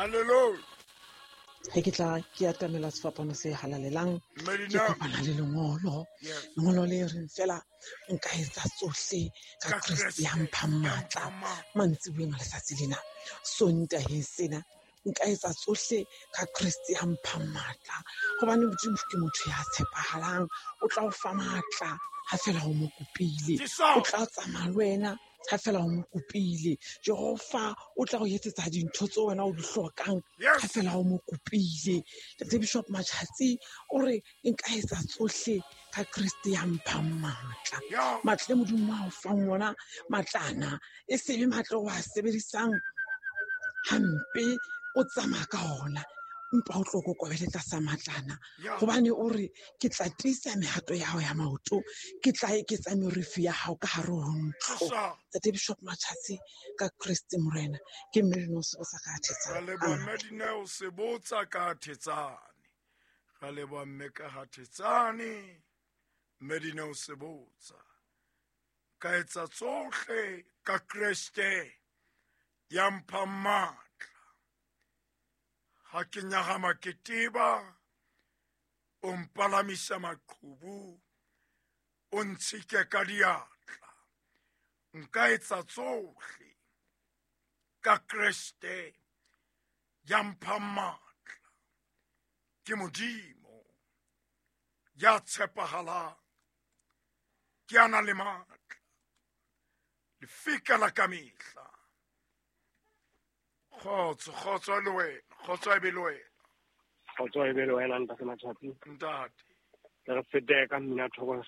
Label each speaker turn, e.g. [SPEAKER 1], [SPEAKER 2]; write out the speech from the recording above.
[SPEAKER 1] Hallelujah.
[SPEAKER 2] Ge ke tla ke atamela sefapano se halalelang, ke
[SPEAKER 1] Medina.
[SPEAKER 2] kopana le lengolo.
[SPEAKER 1] Yes.
[SPEAKER 2] Lengolo le reng fela nka etsa tsohle ka
[SPEAKER 1] Ka
[SPEAKER 2] Kreste ya
[SPEAKER 1] Kreste
[SPEAKER 2] mphang
[SPEAKER 1] ya
[SPEAKER 2] matla.
[SPEAKER 1] mphang matla.
[SPEAKER 2] Mantsiboeng a letsatsi lena, Sontaheng sena, nka etsa tsohle ka Kreste ya mphang matla. Hobane Modimo ke motho ya tshepahalang, o tla o fa matla ha fela o mo kopile.
[SPEAKER 1] Ke so.
[SPEAKER 2] O tla tsamaya le wena ha fela o mo kopile. Jehova o tla o etsetsa dintho tseo wena o di hlokang
[SPEAKER 1] Yes.
[SPEAKER 2] ha fela o mo kopile. Ntate Bishop Matjhatsi o re nka etsa tsohle ka Kreste ya mphang matla.
[SPEAKER 1] Yeah.
[SPEAKER 2] Matla e Modimo a o fang ona, matlana e se be matla o a sebedisang hampe, o tsamaya ka ona, empa o tlo kokobele tlasa matlana.
[SPEAKER 1] Yeah.
[SPEAKER 2] Hobane o re ke tla tiisa mehato ya hao ya maoto, ke tla eketsa merifi ya hao ka hare ho ntlo.
[SPEAKER 1] Ke so.
[SPEAKER 2] Ntate Bishop Matjhatsi ka Kreste Morena, ke mme Dineo Sebotsa ka
[SPEAKER 1] Ra
[SPEAKER 2] Thetsane.
[SPEAKER 1] leboha
[SPEAKER 2] Amen.
[SPEAKER 1] mme Dineo Sebotsa ka Thetsane. Ra leboha mme ka ha Thetsane. Mme Dineo Sebotsa. Ka etsa tsohle ka Kreste ya mphang matla. Ha ke nyahama ke teba, o mpalamisa maqhubu, o ntshike ka diatla. Nka etsa tsohle ka Kreste ya mphang matla. Ke Modimo ya tshepahalang, ke a nang le matla, lefika la kamehla. Kgotso, kgotso le wena, kgotso e be le wena.
[SPEAKER 3] Kgotso e be le wena, ntate Matjhatsi.
[SPEAKER 1] Ntate.
[SPEAKER 3] Re fete ka mmina thoko